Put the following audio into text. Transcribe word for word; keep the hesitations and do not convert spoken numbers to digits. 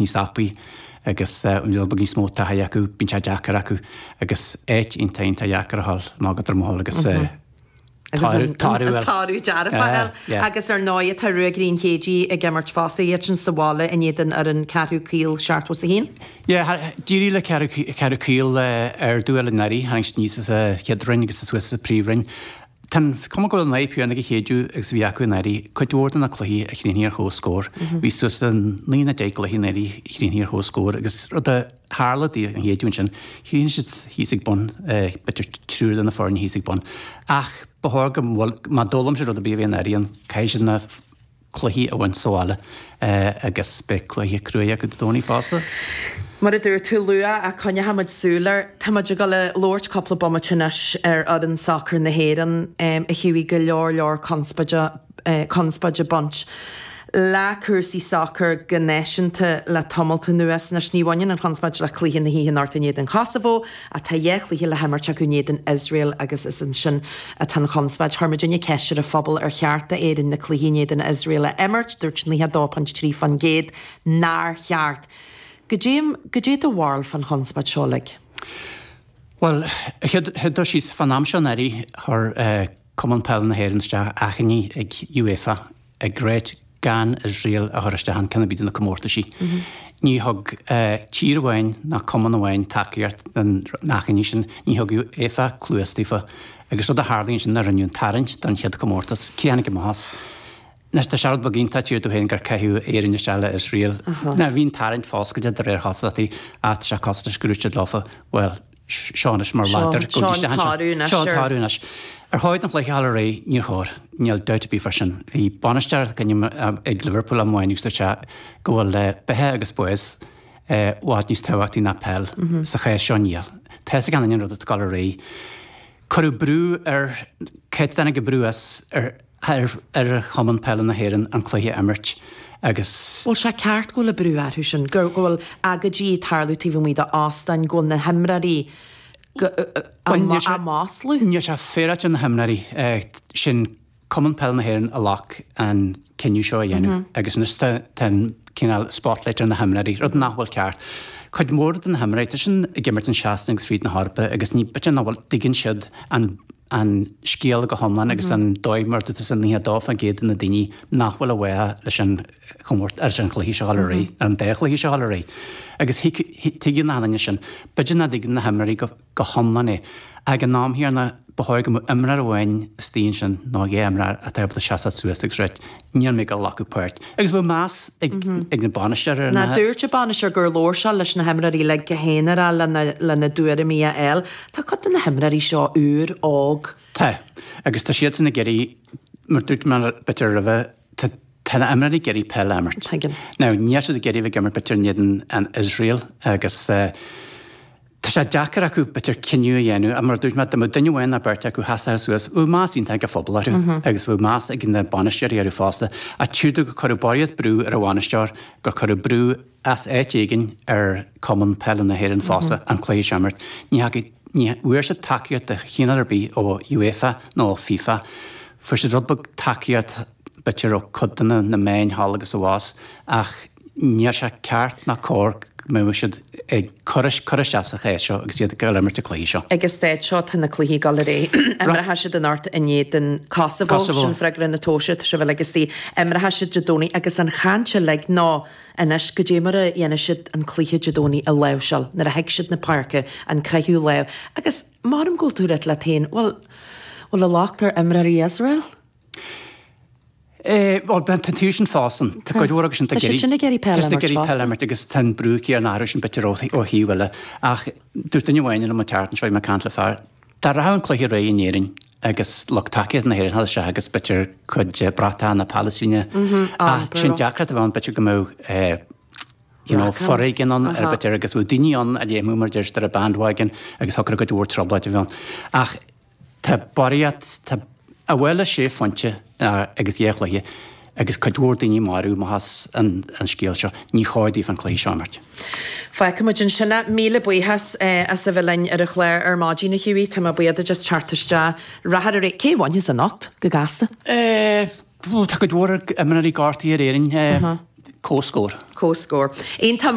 Níos tapaí agus an rud beag níos mó taithí acu, bíonn sé deacair acu agus áit iontach iontach deacair a dhul amach go Droim Átha agus Toradh dearfach agus ar ndóigh tá Ruagairí an Chéidigh ag imirt fosta, iad sin sa bhaile in éadan fhoireann Ceathrú Caol seachtó is a haon. Yeah, d'éirigh le Ceathrú Caol ardú anuraidh, tháinig siad aníos as an chéad roinn agus suas sa príomhroinn. Tá an chuma go bhfuil an fhadhb chéanna ag an Chéideadh agus a bhí acu anuraidh, cuid mhór de na cluichí a chríochnaigh ar comhscór. Bhí suas le naoi nó deich gcluiche anuraidh a chríochnaigh ar comhscór agus rud a tharla don Chéideadh ansin, chríochnaigh siad thíos ag bun, b'fhéidir triúr de na foirne thíos ag bun. Ach ba chóir go bhfuil, má d'fhoghlaim siad rud ar bith a bhí anuraidh, an caithfidh siad na cluichí a bhaint sa bhaile agus beidh cluiche cruaidh acu Dé Domhnaigh fosta. Mar a dúirt tú luath, ach coinneoidh muid súil air. Tá muid ag dul a labhairt cúpla bomaite anois ar fhoireann sacair na hÉireann a Hughie, go leor leor conspóide conspóid ag baint le cúrsaí sacair go náisiúnta le tamalt anuas. Anois ní bhaineann an chonspóid le cluiche na hoíche anocht in éadan Chosavó ach tá dhá chluiche le himirt acu in éadan Iosrael agus is ansin atá an chonspóid. Chuir muidinne ceist ar an phobal ar cheart d'Éirinn na cluichí in éadan Iosrael a imirt, dúirt nócha a dó ponc trí faoin gcéad nár cheart. Goidé, goidé do bharúil fán chonspóid seo uilig? Bhuel, chéad dul síos, fán am seo anuraidh, chuir Cumann Peile na hÉireann isteach achainí ag UEFA ag ráit gan Iosrael a chur isteach in ceann ar bith de na comórtaisí. Ní thug tír amháin ná cumann amháin tacaíocht don achainí sin, ní thug UEFA cluas daofa. Agus rud a tharlaíonn ansin ná rinneadh an tarraingt don chéad chomórtas, cé a tháinig amach as? Anois tá sé rud beag iontach tír dó féin gur caitheadh Éirinn isteach le Iosrael. Now bhí an tarraingt foscailte de réir chosúlachtaí ach tá sé cosúil leis go raibh siad leofa, bhuel, seo anois mar ladar, Seo an toradh anois. Seo an toradh anois. Ar chóir don chluiche a dhul ar aghaidh? Níor chóir. Níl dabht ar bith fá sin. Bhí bainisteoir ag Liverpool am amháin agus dúirt sé go bhfuil beatha agus bás i bhfad níos tábhachtaí ná peil. Sa chás seo níl. Tá a fhios ag gach éinne an rud atá ag dul ar aghaidh. Cuireadh brú ar, cé a tháinig an brú as? Ar ar Chumann Peile na hÉireann an cluiche a imirt agus. Bhfuil sé ceart go bhfuil an brú orthu sin, go bhfuil agóidí ag tarlú taobh amuigh d'óstáin, go bhfuil na himreoirí á maslú? Níl sé féaráilte ar na himreoirí. Sin Cumann Peile na hÉireann a ghlac an cinneadh seo a dhéanamh agus anois tá an cineál spotlight ar na himreoirí, rud nach bhfuil ceart. Cuid mhór de na himreoirí, tá siad ag imirt in Sasana agus fríd na hEorpa agus ní, b'fhéidir nach bhfuil, dtuigeann siad an an scéal go hiomlán agus an dóigh mar tá san nócha a dó faoin gcéad de na daoine nach bhfuil i bhfách leis an chomórtas, leis an chluiche seo a dhul ar aghaidh, ar an dá chluiche seo a dhul ar aghaidh. Agus tuigeann na daoine sin. B'fhéidir nach dtuigeann na himreoirí go go hiomlán é. Ag an am chéanna, ba chóir go mbeadh imreoir amháin istigh ansin nó dhá imreoir atá ábalta seasamh suas agus ráit, níl mé ag dul a ghlacadh páirt. Agus bheadh meas ag ag na bainisteoirí ar na. Ná dúirt an bainisteoir gur labhair sé leis na himreoirí uilig go haonarach lena lena dtuairimí a fháil. Tá cuid de na himreoirí seo úr, óg. Tá. Agus tá siadsan ag iarraidh, mar dúirt mé b'fhéidir roimhe, tá tá na himreoirí ag iarraidh peil a imirt. Tuigim. Now níl siad ag iarraidh a bheith ag imirt b'fhéidir in éadan an Iosrael agus eh, Tá sé deacair acu, b'fhéidir, cinneadh a dhéanamh, ach mar a dúirt mé, dá mbeadh duine amháin nó beirt acu sheasódh suas, bheadh meas iontach ag an phobal orthu agus bheadh meas ag na bainisteoirí orthu fosta. Ach tchítear gur cuireadh barraíocht brú ar an bhainisteoir, gur cuireadh brú as áit éigin ar Chumann Peile na hÉireann fosta an cluiche seo a imirt. Ní thacaigh, ní bhfuair siad tacaíocht de chineál ar bith ó UEFA nó ó FIFA. Fuair siad rud beag tacaíocht, b'fhéidir, ó cuid de na meáin thall agus abhus ach níl sé ceart ná cóir go mbeadh siad ag cur cur isteach sa chás seo agus iad ag dul imirt an cluiche seo. Ag an staid seo tá na cluichí ag dul ar aghaidh. Imreoidh siad anocht in éadan Kosovo, sin freagra na tomhaise, tá sibh uilig istigh. Imreoidh siad Dé Domhnaigh agus an chaint uilig ná anois goidé mar a dhéanfaidh siad an cluiche Dé Domhnaigh a láimhseáil nuair a thig siad na páirce, an croitheadh lámh. Agus maram go bhfuil tú ag ráit leat féin, bhuel, bhfuil an locht ar imreoirí Iosrael? Bhuel, tá an taobh sin fosta. Tá cuid mhór acu sin Tá siad sin ag iarraidh peil a imirt fosta. peil a imirt agus tá an brú céanna orthu sin b'fhéidir ó thaobh eile. Ach dúirt duine amháin liom an tseachtain seo, bhí mé ag caint le fear, dá rachadh an cluiche ar aghaidh in Éirinn agus lucht tacaíochta na hÉireann a dhul isteach agus b'fhéidir cuid de bratach na Palaistíne ach sin deacracht a bheadh ann b'fhéidir go mbeadh you know, foréigean ann ar b'fhéidir agus bheadh daoine ann a léimfeadh mar a deir siad ar an bandwagon agus thiocfadh cuid mhór trioblóid a bheith ann. Ach Tá barraíocht, tá a bhuel le sé phointe agus dhá chluiche agus cuid mhór daoine marbh amach as an scéal seo. Ní chóir daofa an cluiche seo a imirt. Fágfaidh muid ansin é. Míle buíochas as a bheith linn ar an chlár ar maidin, a Hughie. Tá mé buíoch duit as teacht isteach. Rath ar an. Cé a bhainfeas anocht, go gasta? Tá cuid mhór imreoirí gortaithe ar Éirinn. Comhscór. Comhscór. Iontach.